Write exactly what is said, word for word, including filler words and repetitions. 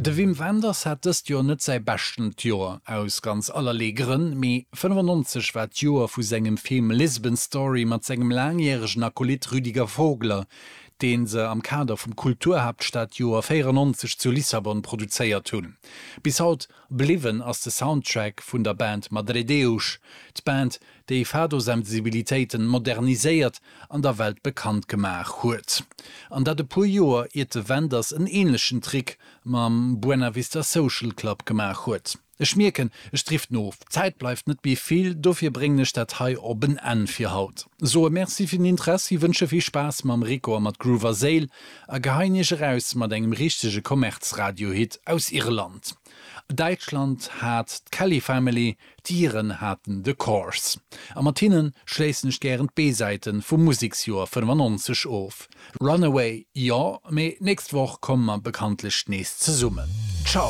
De Wim Wenders hat dëst Joer net säi bescht Joer aus ganz allerlee Grënn, mee fënnefannonzeg war d'Joer vu sengem Film Lisbon Story mat sengem laangjäregen Akolyt Rüdiger Vogler, dee se am Kader vum Kulturhaaptstadjoer véierannonzeg zu Lissabon produzéiert hunn. Bis haut bliwwen ass de Soundtrack vun der Band Madredeus, d'Band, déi Fado-Sensibilitéiten moderniséiert an der Welt bekannt gemaach huet. An dat e puer Joer iert de Wenders en änlechen Trick mam Buena Vista Social Club gemaach huet. Ech mierken, ech driften of, d'Zäit bleift net méi vill, dofir bréngen ech dat hei op en Enn fir haut. Soe Merci fir den Interessi, wënsche vill Spaass mam Rico a mat Groove Séil a geheien iech eraus mat engem richtege Kommerzradiohit aus Irland. Däitschland hat d'Kelly Family, d'Iren haten The Corrs. A mat hinnen schléissen ech gären d'B-Säite vum Museksjoer fënnefannonzeg of. Runaway, jo, mee nächst Woch komme mer bekanntlech nees zesummen. Ciao!